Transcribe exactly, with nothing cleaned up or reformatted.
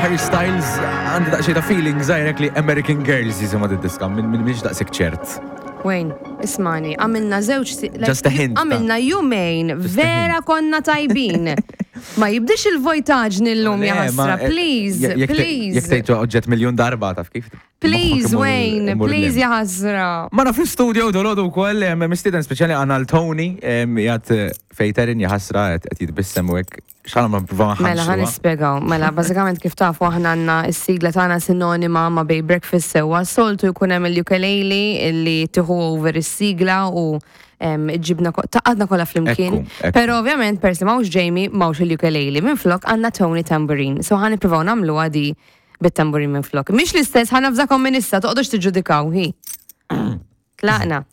Harry Styles, għandi daqsxejn ta' feeling żgħirek li American Girls jisimha d-diska, minn min mhix daqshekk ċert. Wayne, ismani, għamilna żewġ si- like, Just a hint, ta. Għamilna jumejn, Just a vera konna tajbin. Ma jibdix il-vojtaġni l-lum Le, ja ma, ħasra, eh, please, jekk te- please. Jekk tgħid oġġett miljon darba taf kif. Please, moħħok imur- Wayne, imur please lim. ja ħasra. Magħna fl-studio dolodu wkoll mistieden speċjali għandna l-Tony jgħat fejterin jaħasra qed jitbissem u hekk x'għana ma nipprova Mela, ħa nispjegaw. Mela, bażikament kif tafu aħna għandna s-sigla tagħna sinonima ma' Bay Breakfast sewwa. Soltu jkun hemm il-ukulele illi tieħu over is-sigla u em, ġibna taqadna kollha flimkien. Ekku, ekku. Però ovvjament persi m'hawnx Jamie, m'hawnx il-ukulele. Minn flok għandna Tony Tambourine. So ħa nippruvaw nagħmlu għadi bit-tambourine minn flok. Mhix l-istess, ħa navżakom minn issa, toqgħodux tiġġudikaw, hi. Tlaqna.